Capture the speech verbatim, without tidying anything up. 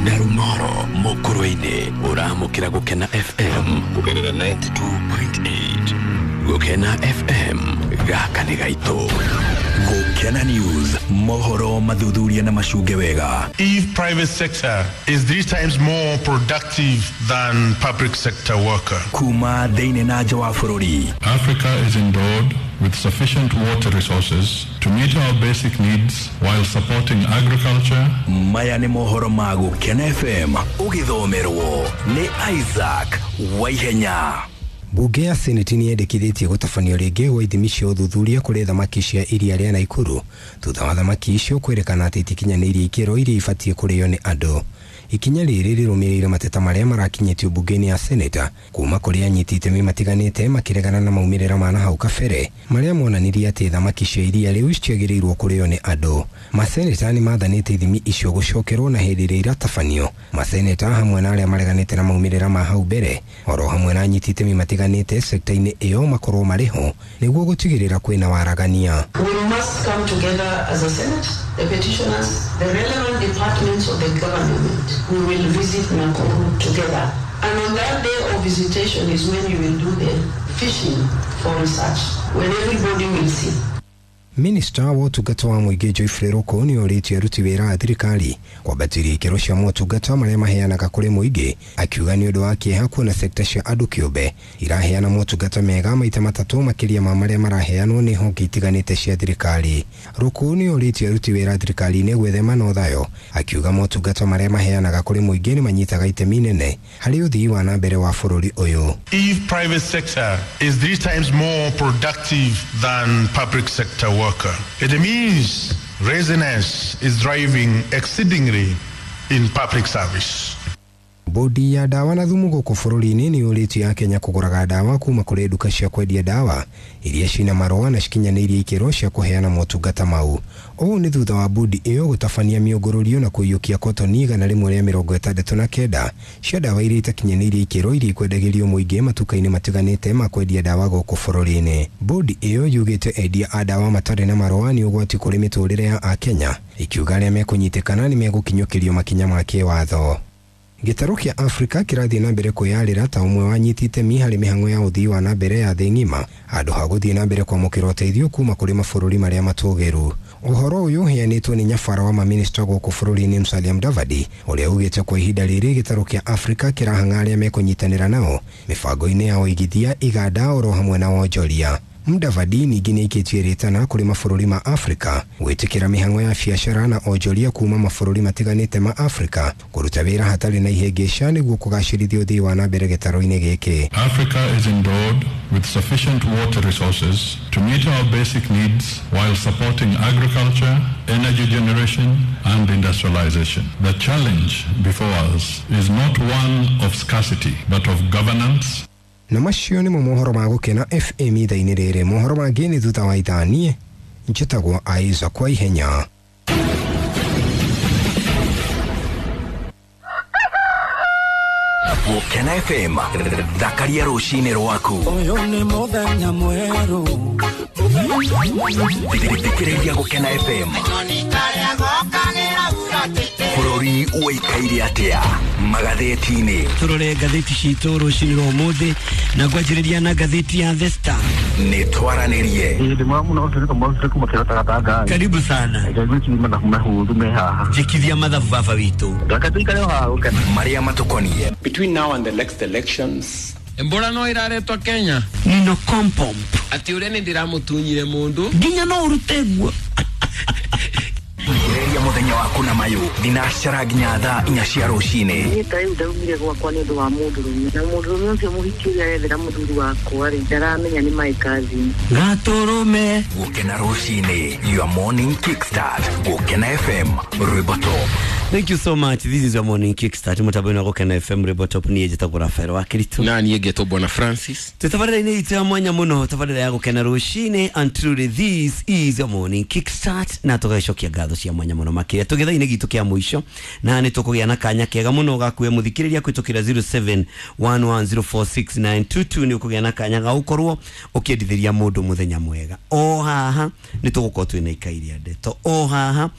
Narumoro Mukurweini uramukira Gukena F M kugerera ninety two point eight. Gukena F M gaka nĩ gaitũ. Gukena News mohoro mathuthuria na macunge wega. If private sector is three times more productive than public sector worker. Kuma thĩinĩ na nja wa bũrũri. Africa is endowed with sufficient water resources to meet our basic needs while supporting agriculture. Maya nĩ mohoro ma Gukena F M ũgĩthomerwo nĩ Isaac Waihenya. Bunge ya Senate nĩ yendekithĩtie gũtabanio rĩngĩ gwa ithimi cia ũthuthuria kũrĩ thamaki cia iria rĩa Naikuru thutha wa thamaki icio kwĩrĩkana atĩ itikinyanĩirie ikĩro iria ibatiĩ kũrĩo nĩ andũ. Ikinya rĩrĩ rĩrũmĩrĩire mateta marĩa marakinyĩtio bunge-inĩ ya Senate kuma kũrĩ anyiti itemi matiganĩte makĩregana na maumĩrĩra ma nahau kabere marĩa monanirie atĩ thamaki cia iria rĩu citiagĩrĩirwo kũrĩo nĩ andũ. Maseneta nĩ mathanĩte ithimi icio gũcokerwo na hĩndĩ ĩrĩa iratabanio. Maseneta hamwe na arĩa mareganĩte na maumĩrĩra ma hau mbere oro hamwe na anyiti itemi matiganĩte sekta-inĩ ĩyo makorwo marĩ ho nĩguo gũtigĩrĩra kwĩna waragania. We must come together as a Senate, the petitioners, the relevant departments of the government. We will visit Nakuru together. And on that day of visitation is when you will do the fishing for research, when everybody will see. Minista wa ũtungata wa mũingĩ Geoffrey Ruku nĩ orĩtie aruti wĩra a thirikari kwambatĩria ikĩro cia motungata marĩa maheanaga kũrĩ mũingĩ, akiuga nĩ ũndũ wa kĩeha kuona sekta cia andũ kĩũmbe iraheana motungata mega maita matatũ makĩria ma marĩa maraheanwo nĩ honge itiganĩte cia thirikari. Ruku nĩ orĩtie aruti wĩra a thirikari-inĩ gwĩthema na ũthayo, akiuga motungata marĩa maheanaga kũrĩ mũingĩ nĩ manyitaga itemi inene harĩ ũthii wa na mbere wa bũrũri ũyũ. If private sector is three times more productive than public sector worker, it means laziness is driving exceedingly in public service. Bodi ya dawa na thumu gũkũ bũrũri-inĩ nĩ yũrĩtie ya Kenya kũgũraga dawa kuma kũrĩ nduka cia kwendia dawa iria cina marũa na cikinyanĩirie ikĩro cia kũheana motungata mau. Ũũ nĩ thutha wa bodi ĩyo gũtabania mĩũngũrũrio na kũiyũkia kotoni igana rĩmwe rĩa mĩrongo ĩtandatũ na kenda cia dawa iria itakinyanĩirie ikĩro iria ikwendagĩrio mũingĩ matuka-inĩ matiganĩte ma kwendia dawa gũkũ bũrũri-inĩ. Bodi ĩyo yugĩte endia a dawa matarĩ na marũa nĩ ũgwati kũrĩ mĩtũrĩre ya Akenya, ikiuga arĩa mekũnyitĩkana nĩ megũkinyũkĩrio makinya ma kĩwatho. Gĩtarũ kĩa Afrika kĩrathiĩ na mbere kwĩyarĩra ta ũmwe wa anyiti itemi harĩ mĩhang'o ya ũthii wa na mbere ya thĩ ng'ima handũ ha gũthiĩ na mbere kwamũkĩra ũteithio kuma kũrĩ mabũrũri marĩa matũgĩru. Ũhoro ũyũ ũheanĩtwo nĩ nyabara wa mamĩnĩsta gũkũ bũrũri-inĩ Musalia Mudavadi ũrĩa ugĩte kwa ihinda rĩrĩ gĩtarũ kĩa Afrika kĩrahang'a arĩa mekũnyitanĩra nao mĩbango-inĩ ya ũigithia, iganda oro hamwe na wonjoria. Mudavadi ningĩ nĩaikĩtie rĩtana kũrĩ mabũrũri ma Afrika gwĩtĩkĩra mĩhang'o ya biacara na onjoria kuma mabũrũri matiganĩte ma Afrika kũruta wĩra hatarĩ na ihĩngĩca nĩguo kũgacĩrithia ũthii wa na mbere gĩtarũ-inĩ gĩkĩ. Africa is endowed with sufficient water resources to meet our basic needs while supporting agriculture, energy generation and industrialization. The challenge before us is not one of scarcity but of governance. Na macio nĩmo mohoro ma Gũkena F M ithaa-inĩ rĩrĩ. Mohoro mangĩ nĩ thutha wa ithaa. Niĩ njĩtagwo Isaac Waihenya. Gũkena F M thakaria rũcinĩ rwaku. Ũyũ nĩ mũthenya mwerũ. Thikĩrĩria Gũkena F M. Bũrũri ũikaire atĩa magathĩti-inĩ. Tũrore ngathĩti citũ rũcinĩ rwa ũmũthĩ na ngwanjĩrĩria na ngathĩti ya The Star. Nĩ twaranĩrie. Karibu sana. Njĩkithia mathabu baba witũ. Marĩa matũkoniĩ. Between now and the next elections. Embora no iraretwa Kenya. Nino kompomp. Ati ũrĩa nĩ ndĩramũtunyire mũndũ. Nginya no ũrute guo. Thikĩrĩria mũthenya waku na mayũ thinacara nginya thaa inya cia rũcinĩ. Niĩ ta rĩu ndaumire gwakwa nĩ ũndũ wa mũndũrũme na mũndũrũme ũcio mũhiki ũrĩa arethera mũthuri wakwa rĩ ndaramenya nĩ my cousin. Gatũrũme. Gũkena rũcinĩ, your morning kickstart. Gũkena F M rwĩmbo top. Thank you so much. This is your morning kickstart. Mutabwena Gũkena F M rwĩmbo top. Niĩ njĩtagwo Rafael wa Kiritu. Na niĩ ngetwo Bwana Francis. Tũtabarĩra-inĩ itũ ya mwanya mũno, tabarĩra ya Gũkena rũcinĩ, and truly this is your morning kickstart. Na tũgacokia ngatho cia mwanya mũno makĩria tũgĩtha-inĩ gitũ kĩa mũico, na nĩ tũkũgĩa na kanya kega mũno ga kuoya mũthikĩrĩria kũhĩtũkĩra zero seven one one zero four six nine two two. Nĩ ũkũgĩa na kanya ga gũkorwo ũkĩendithĩria mũndũ mũthenya mwega. O haha nĩ tũgũkorwo twĩna ikai rĩa ndeto. O haha